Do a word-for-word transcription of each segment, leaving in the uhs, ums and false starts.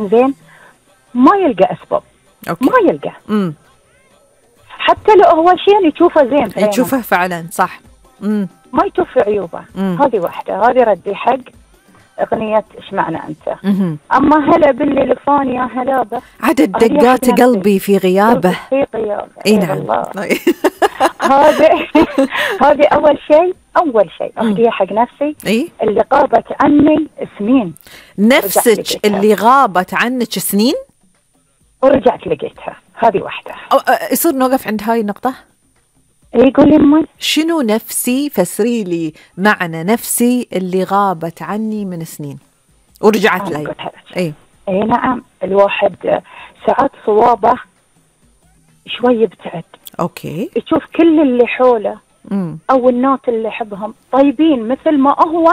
إنزين ما يلقى أسباب. أوكي. ما يلقى. امم حتى لو هو شيء يشوفه زين في يشوفه فعلا صح. امم ما يشوف عيوبه. هذه واحدة، هذه ردي حق أغنية إيش معنى أنت. مم. أما هلا بالليلفون يا هلابة عدد دقات قلبي في غيابه. في غيابه. اي نعم. هذه هذه أول شيء أول شيء أهديها حق نفسي. إيه؟ اللي غابت عني سنين. نفسك اللي غابت عنك سنين ورجعت لقيتها. هذه واحدة. يصير نوقف عند هاي النقطة. يقول لي شنو نفسي؟ فسري لي معنى نفسي اللي غابت عني من سنين ورجعت لي. اي اي نعم. الواحد ساعات صوابه شوي يبتعد. اوكي. يشوف كل اللي حوله مم. او الناس اللي يحبهم طيبين مثل ما هو،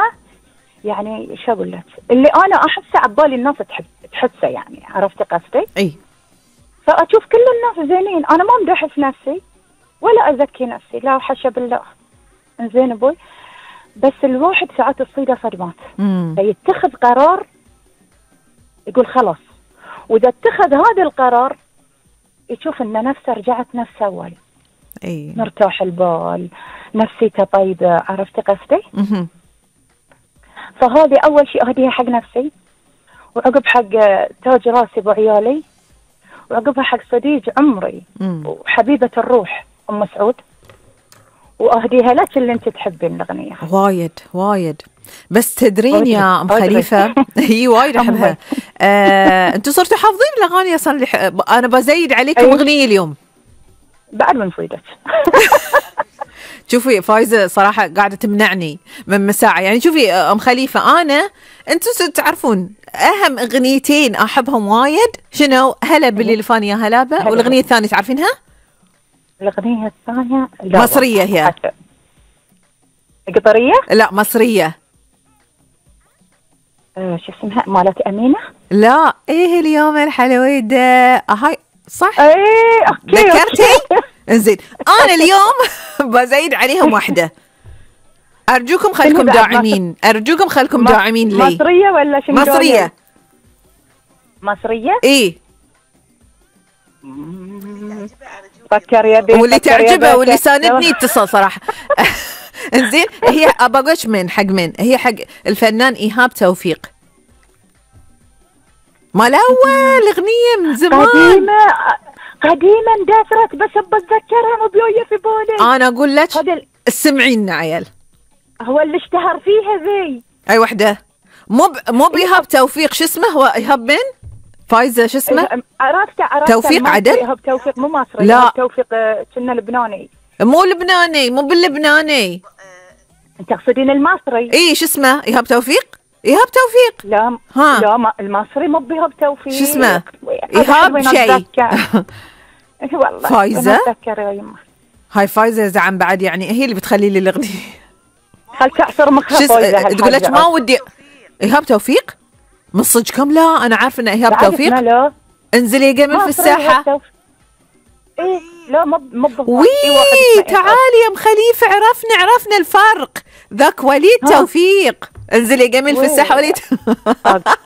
يعني شو اقول لك، اللي انا احسه عبالي الناس تحب تحسه، يعني عرفتي قصدي؟ اي. فاشوف كل الناس زينين، انا ما امدح في نفسي ولا أزكي نفسي، لا حاشا بالله. إنزين أبوي، بس الواحد ساعات تصيده صدمات فيتخذ قرار يقول خلاص، وإذا اتخذ هذا القرار يشوف إن نفسه رجعت نفس أول. أي. مرتاح البال، نفسيته طيبة، عرفتي قصدي؟ فهذه أول شيء أهديها حق نفسي، وعقب حق تاج راسي بعيالي، وعقبها حق صديق عمري مم. وحبيبة الروح أم سعود، وأهديها لك اللي أنت تحبين الأغنية. وايد وايد. بس تدرين يا أم خليفة هي وايد أحبها. آه، أنتوا صرتوا حافظين الأغاني أصلا اللي ح... أنا بزيد عليكم أيه. أغنية اليوم بعد من صيدك. شوفي فايزة صراحة قاعدة تمنعني من مساعة، يعني شوفي أم خليفة، أنا أنتوا تعرفون أهم أغنيتين أحبهم وايد شنو؟ هلا باللي الفاني يا هلابة، والأغنية الثانية تعرفينها؟ الأغنية الثانية مصرية هي. قطرية؟ لا مصرية. آه شو اسمها؟ مالت أمينة؟ لا إيه اليوم الحلويدة هاي صح؟ إيه أوكي. ذكرتي؟ إنزين أنا اليوم بزيد عليهم واحدة. أرجوكم خلكم داعمين، أرجوكم خلكم داعمين لي. مصرية ولا شنو؟ مصرية. مصرية؟ إيه. فكر يا بي. واللي تعجبه واللي ساندني اتصل صراحة. إنزين هي أبغاش من حق من هي حق الفنان إيهاب توفيق. ما الأول أغنية من زمان قديمة قديمة اندثرت، بس بتذكرها مو بيوية في بالي. أنا أقول لك سمعين عيال. هو اللي اشتهر فيها ذي أي وحدة مو ب... مو بإيهاب توفيق. شو اسمه هو إيهاب من فايزة؟ شو اسمه؟ عرفته عرفته توفيق عدل. إيهاب توفيق مو مصري. لا إيهاب توفيق كنا لبناني. مو لبناني، مو باللبناني. انت تقصدين المصري؟ اي شو اسمه؟ إيهاب توفيق. إيهاب توفيق. لا ها. لا ما المصري مو بإيهاب توفيق. شو اسمه؟ إيهاب شيء. والله فايزة. يما. هاي فايزة زعم بعد، يعني هي اللي بتخلي لي الأغنية. خل تعصر مخها فايزة. تقول لك ما ودي إيهاب توفيق من صدقكم؟ لا أنا عارفة إن إيهاب توفيق. لا. انزلي جمل في الساحة. ايه لا مو مو وي تعالي يا ام خليفة، عرفنا عرفنا الفرق، ذاك وليد ها. توفيق. انزلي جميل في الساحة وليد.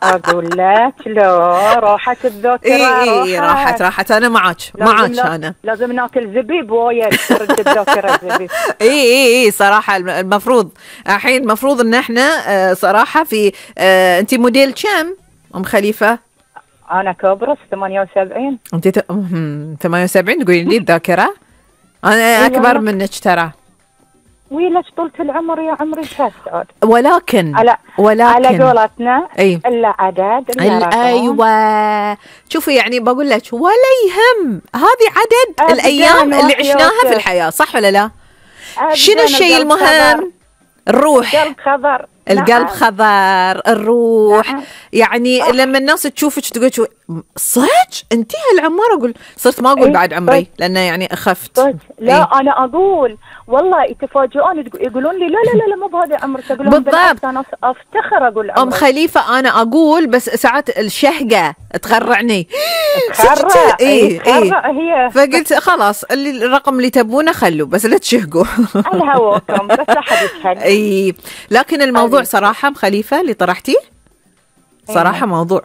اقول لك لا راحت الذاكرة. ايه ايه راحت راحت انا معك معك انا لازم ناكل زبيب وايد ترد الذاكرة الزبيب. ايه ايه ايه صراحة المفروض الحين المفروض ان احنا صراحة في اه انتي موديل كم ام خليفة؟ أنا كبرس ثمانية وسبعين. أنت ت... ثمانية وسبعين تقولين لي الذاكرة؟ أنا أكبر منك ترى. ويلك طولة العمر يا عمري شاسعود. ولكن على ولكن على قولتنا أي. إلا عدد إلا أيوة. شوفي يعني بقول لك ولا يهم، هذه عدد الأيام اللي عشناها في الحياة، صح ولا لا؟ شنو الشيء المهم؟ الروح. القلب خضر. القلب نعم. خضر الروح. نعم. يعني صح. لما الناس تشوفك تقول صدق انتي هالعمر، اقول صرت ما اقول إيه؟ بعد عمري صح. لانه يعني اخفت. لا إيه؟ انا اقول والله يتفاجئون يقولون لي لا لا لا, لا مو بهذا عمرك. اقول لهم بالضبط انا افتخر اقول عمري. ام خليفة انا اقول بس ساعات الشهقة تغرعني. تغرع ايه ايه هي. فقلت خلاص اللي الرقم اللي تبونه خلوا بس لا تشهقوا. على هواكم بس لا حد يشهق. اي لكن الموضوع صراحة ام خليفة اللي طرحتيه صراحة موضوع